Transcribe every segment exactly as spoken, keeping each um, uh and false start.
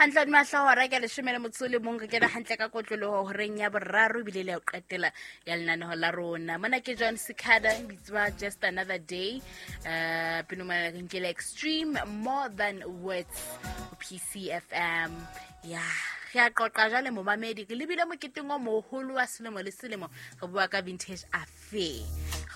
Hantle mahla hora ke leshome le motso le mong re kena hantle ka kotloloho horeng ya boraro ebile le ya ho qetela ya lenaneho la rona. Mona ke John Sikada bitswa Just Another Day. Uh pino mona re nkele Extreme More Than Words P C F M. Ya re a qoqa jwale momamedi re lebile moketeng o moholo wa selemo le selemo re bua ka Vintage Affair.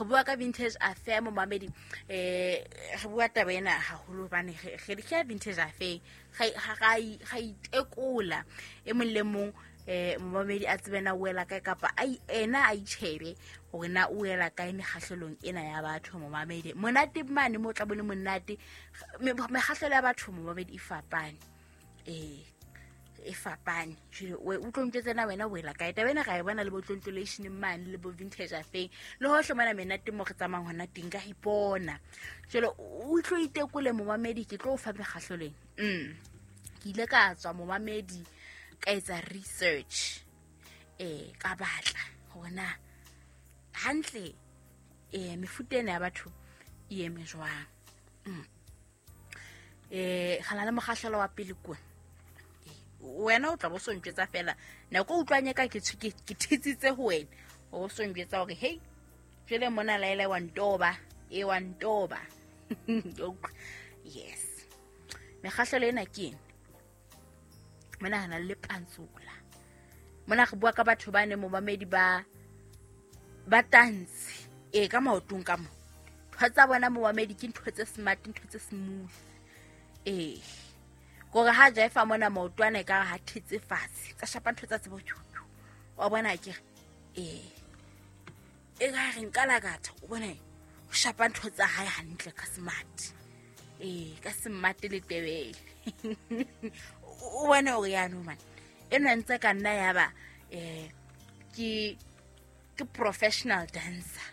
Re bua ka Vintage Affair momamedi eh re bua taba ena haholo hobane re re ke Vintage Affair ga ga itekola e mong le mong eh momamedi a tsebe na wela kae kapa a ena a itjhebe hore na o wela kae mekgahlelong ena ya batho momamedi. Monate mane mo tla bone monate mekgahlelo ya batho momamedi e fapane. Eh e fapane jwale o tlo ntjwetsa na wena wela kae taba ena ga e bona le bo tlontolation mane le bo Vintage Affair le hohle mona menate mo re tsamayang hona teng ka ipona. Jwale o tlo itekole momamedi ke tlo o fa mekgahlelong. Mm ke ile ka tswa momamedi ka etsa research eh ka batla hore na hantle eh mefuta ena ya batho e eme jwang. Mm eh gana le mokgahlelo wa pele kwa wena o tla bo sontjwetsa fela nako o utlwanye ka ke ke thitsitse ho wena o sontjwetsa hore hey jwale mona laela wa ntoba e wa ntoba. Yes mekgahlelo ena ke eng mona hana le pantsula mona re bua ka batho ba ne momamedi ba ba tantshe e ka maotong ka mo ntho tsa bona momamedi ke ntho tse smart ntho tse smooth eh gore ha jaifa mona maotwana e ka ha thetse fatshe tsa shapa ntho tsa tsebo wa bona ke eh e ga re nkala katha o bone o shapa ntho tsa hae hantle ka smart eh ka smart le tebele o bone hore ya no man ena ntse ka nna ya ba eh ke ke professional dancer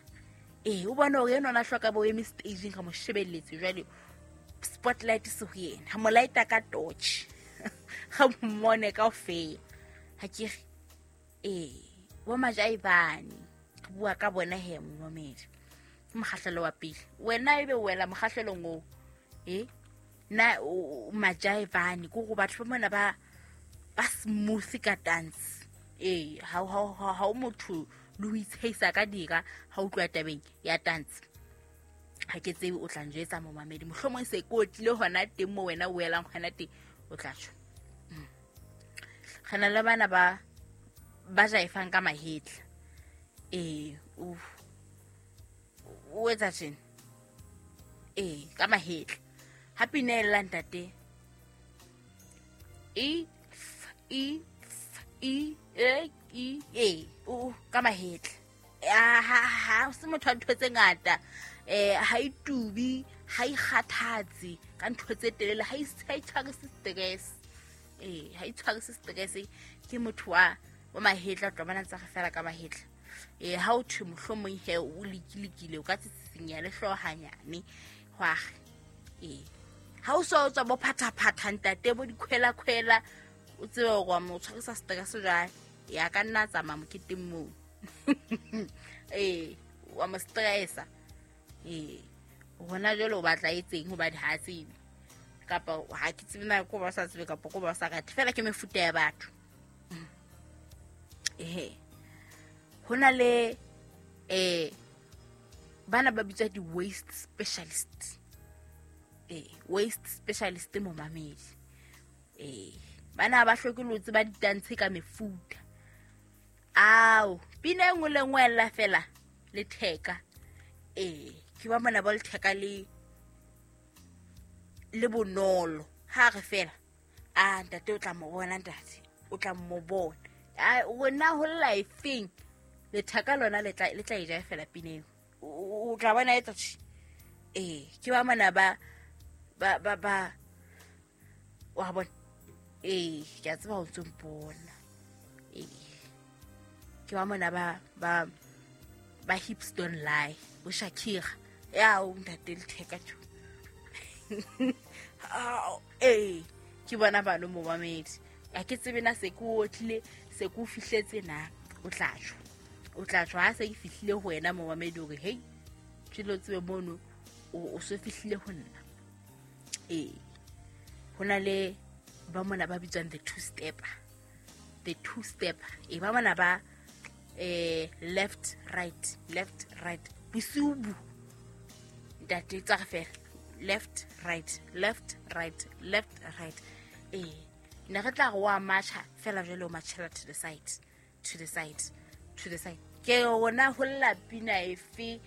eh o bone hore ena ona hloka bo eme staging ka mo shebelletse jwale spotlight se ho yena ha mo lighta ka torch ga mmone ka ofela ha ke re eh bo majaibane re bua ka bona he momamedi ke mokgahlelo wa pele wena ebe wela mokgahlelong oo eh na majaibane go go batho ba mona ba ba smooth ka dance eh ha ha ha motho le ho itsheisa ka dira ha utlwa tabeng ya dance ha ke tsebe o tla njwetsa momamedi mohlomong se ko tlile hona teng mo wena o welang hona teng o tla tjho. Gana le bana ba ba jaifang ka mahetla eh o o etsa tjena eh ka mahetla ha pinela ntate e f e f e e e e o ka mahetla ha ha se motho a ntho tse ngata eh ha itubi ha ikgathatse ka ntho tse telele ha e tshwarise stress eh ha itshwarise stress ke motho wa wa mahetla tlo bona tsa fela ka mahetla eh ha o thwe mohlomong he o likilikile o ka tsitsinya le hlohanyane hwa eh ha o so tswa bo phatha phatha ntate bo dikhwela khwela o tsebe hore mo tshwarisa stress jwale ya ka nna tsamaya moketeng moo eh wa mo stressa eh hona jwale o batla etseng hobane ha tsebe kapa ha ke tsebe na ko ba sa tsebe kapa ko ba sa rate fela ke mefuta ya batho eh hona le eh bana ba bitswa di waste specialist eh waste specialist momamedi eh bana ba hloke lo tseba ditantshe ka mefuta ao pina e nngwe le nngwe ella fela le theka eh ke ba mona ba le theka le le bonolo ha re fela a ntate o tla mo bona ntate o tla mo bona a wena ho lifeng le theka lona le tla le tla e ja fela pineng o tla bona etsa eh ke ba mona ba ba ba ba wa bona eh ke a tseba o ntse mpona eh ke ba mona ba ba ba hips don't lie bo Shakira ya o ntate le theka tjo eh ke bona bano momamedi a ke tsebe na se ke otlile se ke o fihletse na o tla tjho o tla tjho ha se ke fihlile ho wena momamedi hore hey tshilo tsebe mono o se fihlile ho nna eh hona le ba mona ba bitswang the two stepper. The two stepper. E ba mona ba eh left right left right bosiu ntate tsa fela left right left right left right. Eh ne re tla go wa matcha fela jalo matchela to the side to the side to the side. Ke ona ho lla pina efe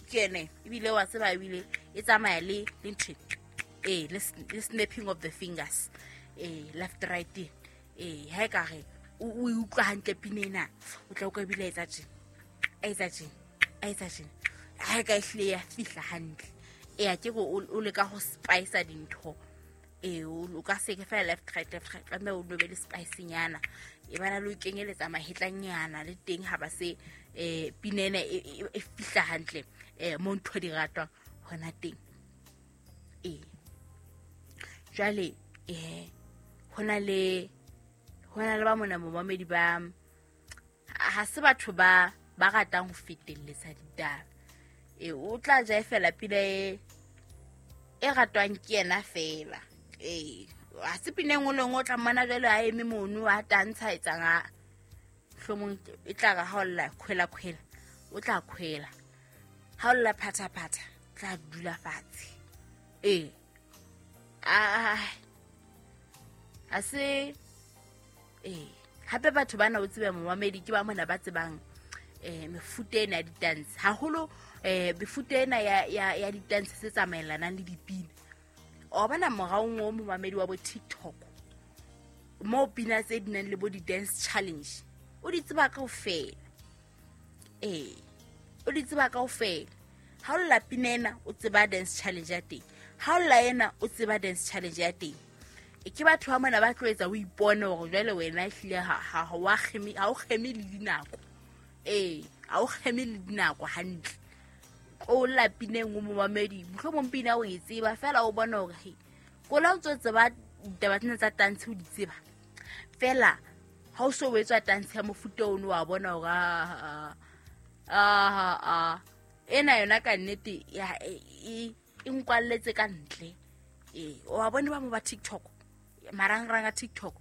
ke ne ebile wa tseba ebile e tsamaya le le ntho eh le snapping of the fingers eh left right eh ha e ka re o utlwa hantle pina ena o tla o ka bile etsa tjena etsa tjena etsa tjena ha ka ehle ya fihla hantle e a ke go o le ka go spice dintho e o ka se ke fela left right left right tlameha o nobe le spice nyana e bana le o kenyeletsa mahetlanyana le teng ha ba se eh pina ena e fihla hantle eh mo ntho di ratwa hona teng. E jwale eh hona le hona le ba mona momamedi ba ha se batho ba ba ratang ho fetelletsa ditaba. E o tla ja fela pina e e ratwang ke yena fela. E ha se pina engwe le engwe o tla mmona jwale a eme mono a tantsha etsang a hlomong e tla re ha o lla khwela khwela o tla khwela, ha o lla phatha phatha tla dula fatshe. E a a se eh hape batho bana o tsebe momamedi ke ba mona ba tsebang eh mefuta ena ya di-dance haholo eh mefuta ena ya ya ya di-dance tse tsamaelanang le dipina. O bona moraong o momamedi wa bo TikTok mo pina tse di nang le bo di-dance challenge o di tseba kaofela. Eh o di tseba kaofela. Ha o lla pina ena o tseba dance challenge ya teng, ha o lla ena o tseba dance challenge ya teng. E ke batho ba mona ba tlo etsa o ipone hore jwale wena ehlile ha ha wa kgeme ha o kgeme le dinako. Eh ha o kgeme le dinako hantle. O lla pina engwe momamedi mohlomong pina o e tseba fela o bona hore he kola o ntso tseba ditaba tsena tsa tantshe o di tseba fela ha o so o etswa tantshe ya mofuta ono wa bona hore a a a ena yona ka nnete ya e e nkwalletse ka ntle. Eh o wa bona ba mo ba TikTok marangrang a TikTok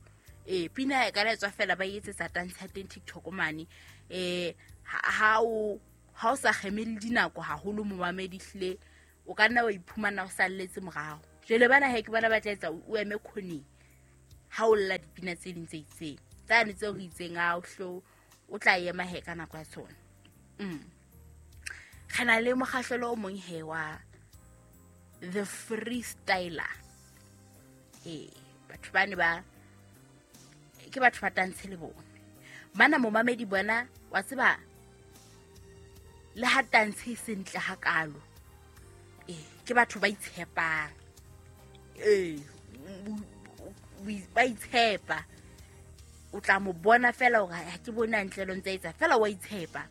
eh pina e ka letswa fela ba etsetsa tantshe ya teng TikTok mane. Eh ha o ha o sa kgeme le dinako haholo momamedi hle o ka nna wa iphumana o salletse morao. Jwale bana he ke bona ba tla etsa o eme khoneng ha o lla dipina tse ding tse itseng tsane tseo re itseng a o hlo o tla ema he ka nako ya tsona. Mm re na le mokgahlelo o mong he wa the freestyler. Eh batho bane ba ke batho ba tantshe le bona bana momamedi bona wa tseba le ha tantshe sentle hakalo eh ke batho ba itshepang. Eh ba itshepa o tla mo bona fela hore ha ke bona ntle lo ntse etsa fela wa itshepa.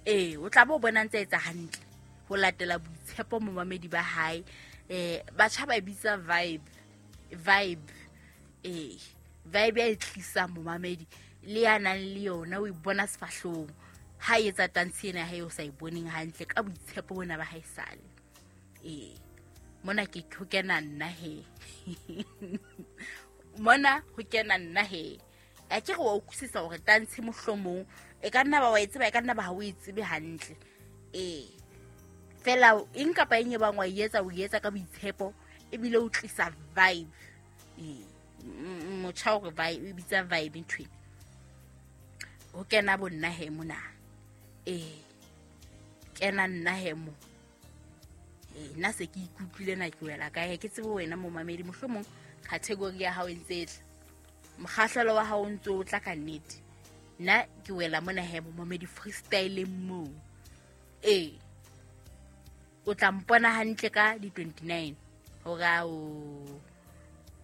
Eh o tla bo bona ntse etsa hantle ho latela boitshepo momamedi ba hae. Eh batjha ba bitsa vibe vibe eh vibe e tlisa momamedi le ya nang le yona o e bona sefahlong ha etsa tantshe ena ha o sa e boneng hantle ka boitshepo bona ba hae sale. Eh mona ke ho kena nna he mona ho kena nna he a ke re wa utlwisisa hore tantshe mohlomong e ka nna ba wa e tseba e ka nna ba ha o e tsebe hantle. Eh fela eng kapa eng e bang wa e etsa o etsa ka boitshepo ebile o tlisa vibe. Eh motjha o re vibe e bitsa vibe ntho ena ho kena bo nna he mona. Eh kena nna he mo eh nna se ke ikutlwile na ke wela kae ke tsebe wena momamedi mohlomong category ya hao e ntse tla mokgahlelo wa hao o ntse o tla ka nnete nna ke wela mona he momamedi freestyle mo. Eh o tla mpona hantle ka di twenty-nine hore ao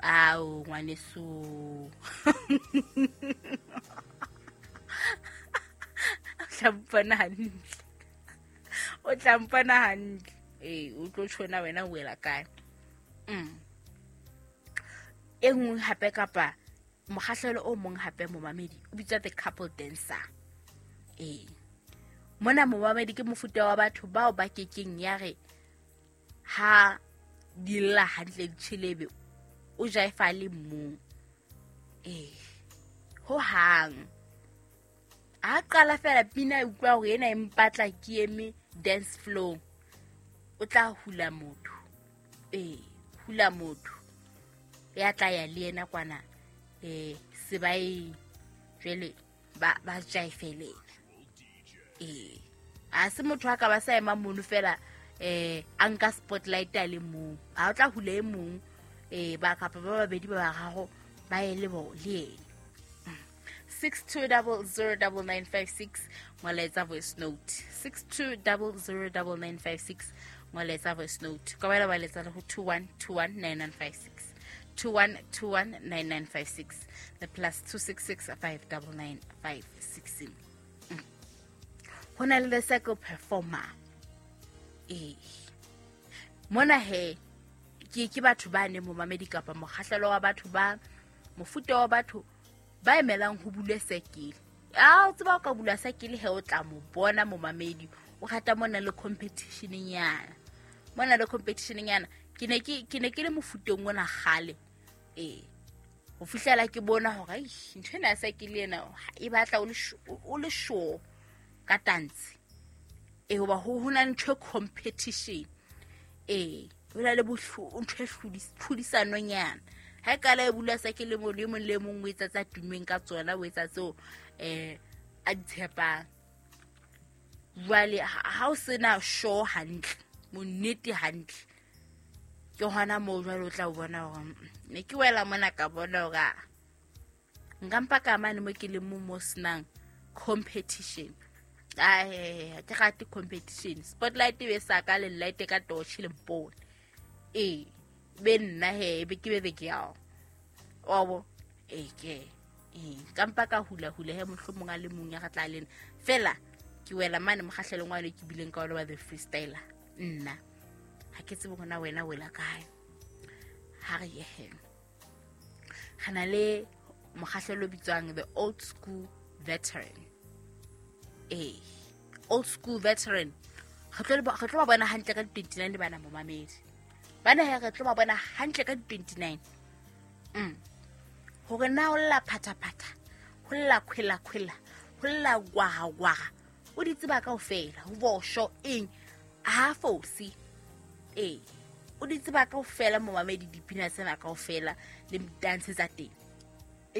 ao ngwaneso o tla mpona hantle o tla mpona hantle. Eh o tlo tshona wena o wela kae. Mm e nngwe hape kapa mokgahlelo o mong hape momamedi o bitswa the couple dancer. Eh mona momamedi ke mofuta wa batho bao ba kekeng ya re ha di lla hantle ditjhelebe o jaifa le mong. Eh ho hang a qala fela pina e utlwa hore ena e mpatla ke eme dance floor, o tla hula motho. Eh hula motho ya tla ya le yena kwana eh sebae jwale ba ba jaifelela. Eh a se motho a ka ba sa ema mono fela eh a nka spotlight a le mong, a o tla hula e mong eh ba kapa ba babedi ba bararo ba ye le bo le yena. six two zero zero nine nine five six ngwaletsa voice note. six two zero zero nine nine five six ngwaletsa voice note. Ka ba ba letsa le ho two one two one nine nine five six, two one two one nine nine five six, the plus two six six five nine nine five six. Ho na le the circle performer. Eh mona he ke ke batho ba ne momamedi kapa mokgahlelo wa batho ba mofuta wa batho ba emelang ho bule sekele. A o tseba o ka bula sekele he o tla mo bona momamedi o rata mona le competition nyana. Mona le competition nyana ke ne ke ke ne ke le mofuteng ona kgale. Eh ho fihlela ke bona hore ai ntho ena ya sekele ena e batla o le o le sure ka dance. Eh hoba ho hona ntho competition. Eh ho na le bohlo ntho e tlhodisano nyana. Ha e kala e bula sekele mo le mong le mong o etsa tsa tumeng ka tsona, o etsa tseo eh a di tshepang. Jwale ha o sena show hantle, monnete hantle, ke hona moo jwale o tla o bona hore ne ke wela mona ka bona hore nka mpa ka mane mo ke le mo mo senang competition. Ai ke rate competition. Spotlight e be sa ka le light ka torch le mpone. Eh be nna he be ke be be ke yao. Obo eh ke eh ka mpa ka hula hula he mohlomong a le mong ya tla lena. Fela ke wela mane mokgahlelong wa le ke bileng ka ona wa the freestyler. Nna ha ke tsebe hona wena wela kae. Ha re ye he. Re na le mokgahlelo bitswang the old school veteran. Eh old school veteran. Re tlo re tlo ba bona hantle ka twenty-nine le bana momamedi. Bana he re tlo ba bona hantle ka twenty-nine. Mm. Hore na o lla phataphatha, ho lla khwela khwela, ho lla gwaga gwaga. O di tseba kaofela, ho bosho eng ha fosi. Eh o di tseba kaofela momamedi dipina tsena kaofela le dance tsa teng.